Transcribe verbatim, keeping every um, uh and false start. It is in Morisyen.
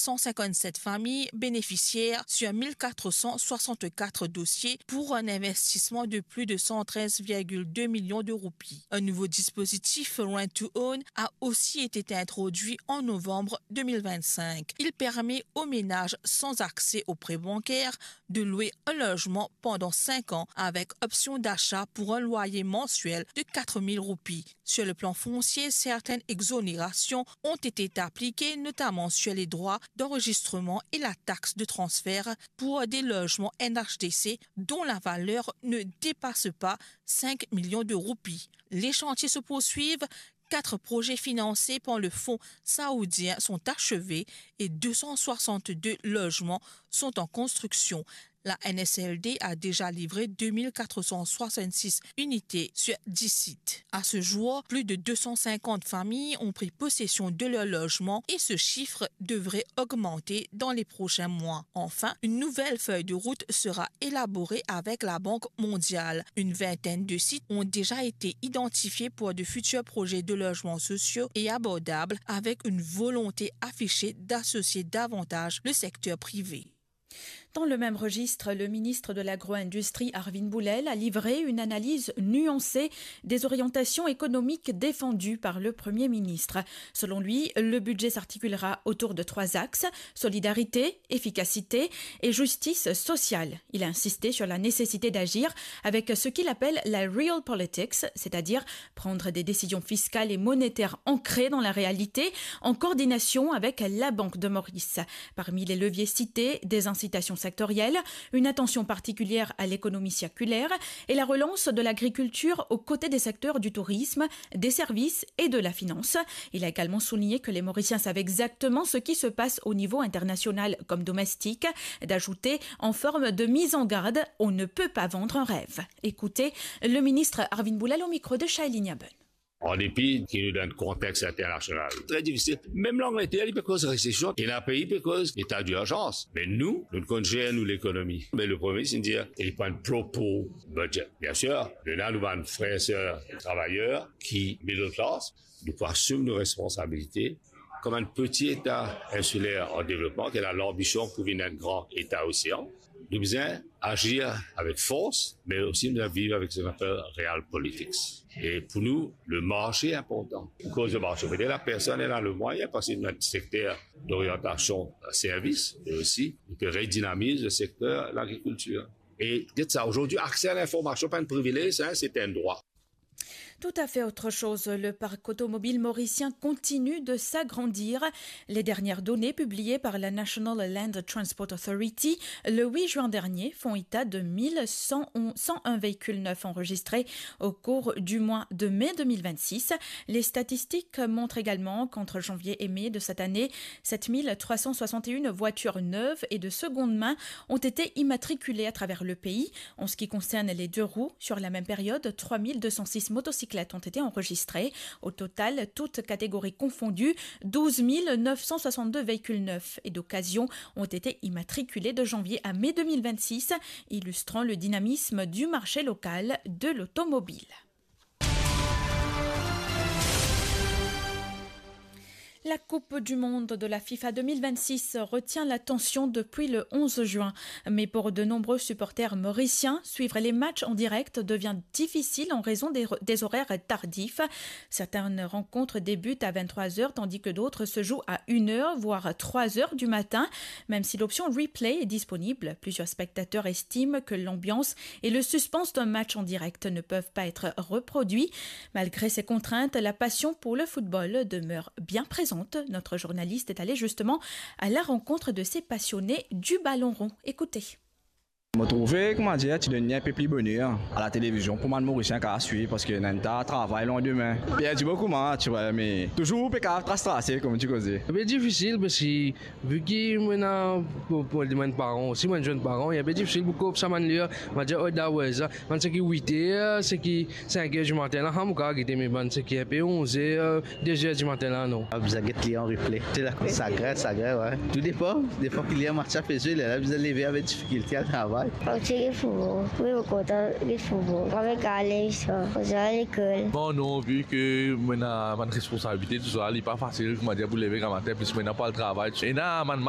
cent cinquante-sept familles bénéficiaires sur mille quatre cent soixante-quatre dossiers pour un investissement de plus de cent treize virgule deux millions de roupies. Un nouveau dispositif Rent to Own a aussi été introduit en novembre deux mille vingt-cinq. Il permet aux ménages sans accès au prêt bancaire de louer un logement pendant cinq ans avec option d'achat pour un loyer mensuel de quatre mille roupies. Sur le plan foncier, certaines exonérations ont été appliquées, notamment sur les droits d'enregistrement et la taxe de transfert pour des logements N H D C dont la valeur ne dépasse pas cinq millions de roupies. Les chantiers se poursuivent. Quatre projets financés par le Fonds saoudien sont achevés et deux cent soixante-deux logements sont en construction. La N S L D a déjà livré deux mille quatre cent soixante-six unités sur dix sites. À ce jour, plus de deux cent cinquante familles ont pris possession de leur logement et ce chiffre devrait augmenter dans les prochains mois. Enfin, une nouvelle feuille de route sera élaborée avec la Banque mondiale. Une vingtaine de sites ont déjà été identifiés pour de futurs projets de logements sociaux et abordables, avec une volonté affichée d'associer davantage le secteur privé. Dans le même registre, le ministre de l'Agro-industrie, Arvind Boulel, a livré une analyse nuancée des orientations économiques défendues par le Premier ministre. Selon lui, le budget s'articulera autour de trois axes, solidarité, efficacité et justice sociale. Il a insisté sur la nécessité d'agir avec ce qu'il appelle la real politics, c'est-à-dire prendre des décisions fiscales et monétaires ancrées dans la réalité, en coordination avec la Banque de Maurice. Parmi les leviers cités, des incitations sectorielles, une attention particulière à l'économie circulaire et la relance de l'agriculture aux côtés des secteurs du tourisme, des services et de la finance. Il a également souligné que les Mauriciens savent exactement ce qui se passe au niveau international comme domestique, d'ajouter en forme de mise en garde : « On ne peut pas vendre un rêve. » Écoutez le ministre Arvind Boulel au micro de Shailene Abun. An depi ki nou dan enn konteks internasional tre difisil, mem Langleter, li pe koz resesion, ena pei pe koz leta direzans. Me nou, nou konn zer nou lekonomi. Me le Premie Minis inn dir, li pran enn proper budget. Biensir, nou ena nou bann frer, ser travayer ki middle class, nou pou asim nou responsabilite. Kouma enn peti eta insiler an devlopman, ki ena lanbision pou vinn enn gran eta osean, nou bizin azir avek fors, me osi nou bizin viv avek seki nou apel real politics. E pou nou, le marse inportan. Pou koz de marse, vedir lapersonn ena le mwayin, parski nou ena enn sekter doryantasion servis, me osi nou pe redinamiz le sekter lagrikiltir. E get sa, azordi, akse a linformasion pa enn privilez, hein, se enn drwa. Tout à fait autre chose, le parc automobile mauricien continue de s'agrandir. Les dernières données publiées par la National Land Transport Authority le huit juin dernier font état de mille cent onze, cent un véhicules neufs enregistrés au cours du mois de mai deux mille vingt-six. Les statistiques montrent également qu'entre janvier et mai de cette année, sept mille trois cent soixante et une voitures neuves et de seconde main ont été immatriculées à travers le pays. En ce qui concerne les deux roues, sur la même période, trois mille deux cent six motocyclettes ont été enregistrées. Au total, toutes catégories confondues, douze mille neuf cent soixante-deux véhicules neufs et d'occasion ont été immatriculés de janvier à mai deux mille vingt-six, illustrant le dynamisme du marché local de l'automobile. La Coupe du Monde de la FIFA deux mille vingt-six retient l'attention depuis le onze juin. Mais pour de nombreux supporters mauriciens, suivre les matchs en direct devient difficile en raison des, des horaires tardifs. Certaines rencontres débutent à vingt-trois heures, tandis que d'autres se jouent à une heure, voire trois heures du matin. Même si l'option replay est disponible, plusieurs spectateurs estiment que l'ambiance et le suspense d'un match en direct ne peuvent pas être reproduits. Malgré ces contraintes, la passion pour le football demeure bien présente. Notre journaliste est allé justement à la rencontre de ces passionnés du ballon rond. Écoutez. Mo trouve, kouma dir, ti donn li enpe pli boner a latelevizion pou bann Morisien kapav swiv, parski ena enn ta travay landime. Perdi boukou match, wi, me touzour pe kapav tras trase, kouma ti koze. Be difisil, parski vi ki mo ena, pou, pou, mo enn paran osi, mo enn zenn paran, li enpe difisil pou koup sa bann ler, mo dir, oh, da, wi, sa, bann seki wit er, seki sink er dimatin la, ha, mo kapav gete, me bann seki enpe onz er, de zer dimatin la, non. Ah, bizin get li an replay. Se la, sa grin, sa grin, wi. Tou depan, depan ki ler match la pe zwe, lerla bizin leve avek difikilte al travay. Mo ti gagn foutbol, wi, mo kontan gagn foutbol. Avek ale, sa, mo al lekol. Bon, non, vi ki mo ena bann responsabilite, tousa, li pa fasil, kouma dir, pou leve gramatin, plis mo ena pou al travay. Ena bann